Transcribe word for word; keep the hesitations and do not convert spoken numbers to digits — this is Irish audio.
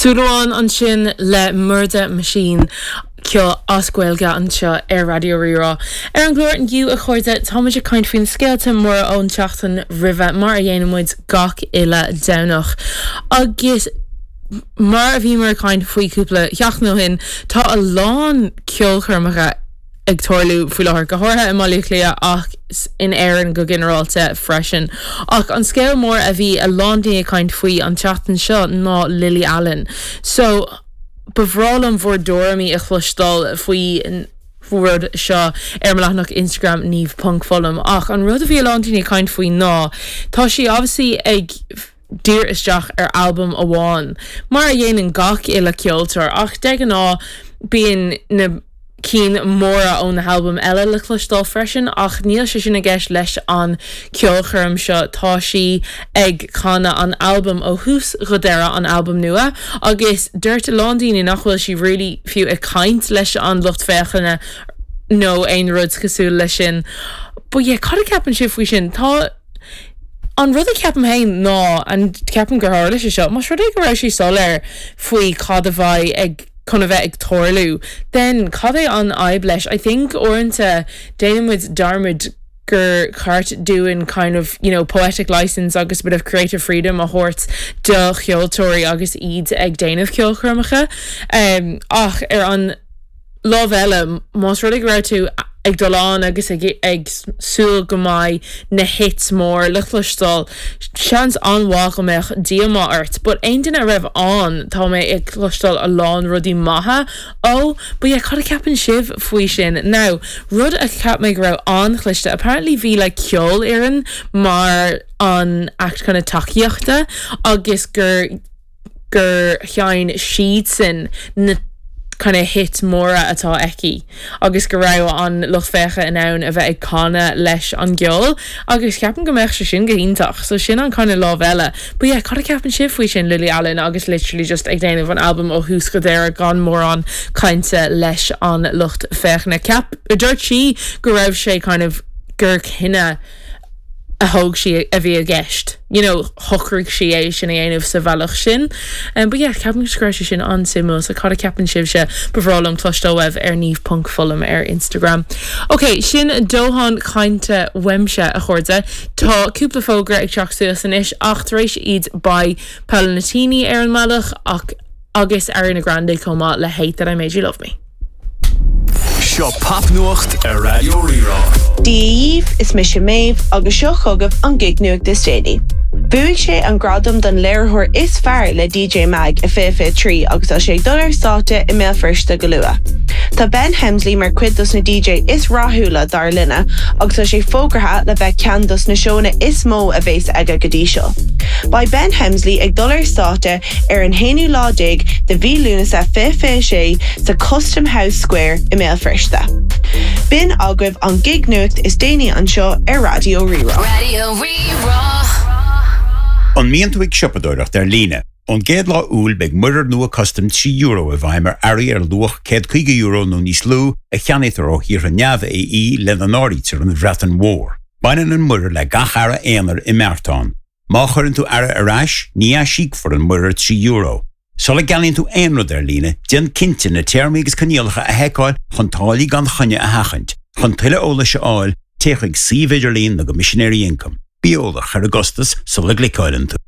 Súil amháin ansin le Murda Machine ceol as Gaeilge anseo ar Raidió Rí-Rá. Ar an gclár inniu a chairde táimid ag caint faoin scéalta móra ón tseachtain roimhe mar a dhéanann muid gach uile Domhnach. Agus mar a bhí mar caint faoi cúpla seachtain ó shin tá a lán ceolchoirmeacha ag tarlú faoi láthair go háirithe i mBaile Átha Cliath ach in Éirinn go ginearálta freisin. Ach an scéal mór a bhí a lán daoine ag caint faoi an tseachtain seo ná Lily Allen. So ba bhreá liom bhur dtuairimí a chloisteáil faoi rud seo ar mo leathanach Instagram Niamh ponc Fullam ach an rud a bhí a lán daoine ag caint faoi ná tá sí obviously ag díriú isteach ar albam amháin mar a dhéanann gach uile ceoltóir ach de ghnáth bíonn na cinn móra ó na halbaim eile le cloisteáil freisin ach níl sé sin i gceist leis an ceolchoirm seo tá sí ag canadh an albam ó thús go deireadh an albam nua agus dúirt a lán daoine nach bhfuil sí really fiú ag caint leis an lucht féachana nó aon rud cosúil leis sin. But yeah, cad a cheapann sibh faoi sin tá An rud a cheapaim féin ná an ceapaim gur tharla sé seo, Más rud é go raibh sí soiléir faoi cad a bheidh ag chun a bheith ag tarlú, then cad é an fhadhb leis? I think uaireanta déanaimid dearmad gur cheart dúinn kind of you know, poetic license agus a bit of creative freedom a thabhairt do cheoltóirí agus iad ag déanamh ceolchoirmeacha. Um, ach ar an lámh eile más rud é go raibh tú ag dul ann agus ag, ag súil go mbeidh na hits mór le cloisteáil seans an-mhaith go mbeadh díomá ort, but aon duine a raibh ann tá mé ag cloisteáil a lán rudaí maithe ó, but yeah, cad a cheapann sibh faoi sin. Now, rud a cheap mé go raibh an-chliste, apparently bhí le ceolfhoireann mar an act kind of tacaíochta agus gur gur sheinn siadsan na kind of hits móra atá aici agus go raibh an lucht féachana in ann a bheith ag canadh leis an gceol agus ceapaim go mbeadh sé sin go hiontach so sin an kind of lámh eile. But yeah, cad a cheapann sibh faoi sin Lily Allen agus literally just ag déanamh an album ó thús go deireadh gan mórán cainte leis an lucht féachana. Ceap dúirt sí go raibh sé kind of gur cinneadh a thóg sí a bhí i gceist. You know, shocraigh sí é sin a dhéanamh sa bhealach sin. Um, but yeah, ceapaim go raibh sé sin an-suimiúil so cad a cheapann sibhse ba bhreá liom cloisteáil uaibh ar Niamh ponc Fullam ar Instagram. Ok, sin dóthain cainte uaimse a chairde Tá cúpla fógra ag teacht suas anois ach tar éis iad beidh Paolo Nutini ar an mbealach ach agus Ariana Grande chomh maith le Hate That I Made You Love Me. Seo popnuacht ar Raidió Rí-Rá. Dia daoibh is mise Méabh agus seo chugaibh an gig nuacht is déanaí. Bhuaigh sé an gradam don léiritheoir is fearr le DJ Mag i fiche fiche trí agus tá sé ag dul ar stáitse i mBéal Feirste go luath. Tá Ben Hemsley mar chuid dos na DJ is rathúla dár linne agus tá sé fógartha le bheith ceann dos na seónna is mó a bheas aige go dtí seo. Beidh Ben Hemsley ag dul ar stáitse ar an haonú lá déag de mhí Lúnasa fiche fiche sé sa Custom House Square i mBéal Feirste. B'in agaibh an gig nuacht is déanaí anseo ar Raidió Rí-Rá. Raidió Rí-Rá. An mbíonn tú ag siopadóireacht ar líne. Ón gcéad lá Iúil beidh muirear nua custaim trí euro i bhfeidhm ar earraí ar luach céad caoga euro nó níos lú a cheannaítear ó thíortha neamh-AE lena n-áirítear an Bhreatain Mhór. Baineann an muirear le gach earra aonair i mbeartán. Má chuireann tú earra ar ais, ní aisíocfar an muirear trí euro. Sula gceannaíonn tú aon rud ar líne, déan cinnte na téarmaí agus coinníollacha a sheiceáil chun táillí gan choinne a sheachaint. Chun tuilleadh eolais a fháil, téigh chuig suíomh idirlín na gCoimisinéirí Ioncaim. Bí eolach ar an gcostas sula gcliceálann tú.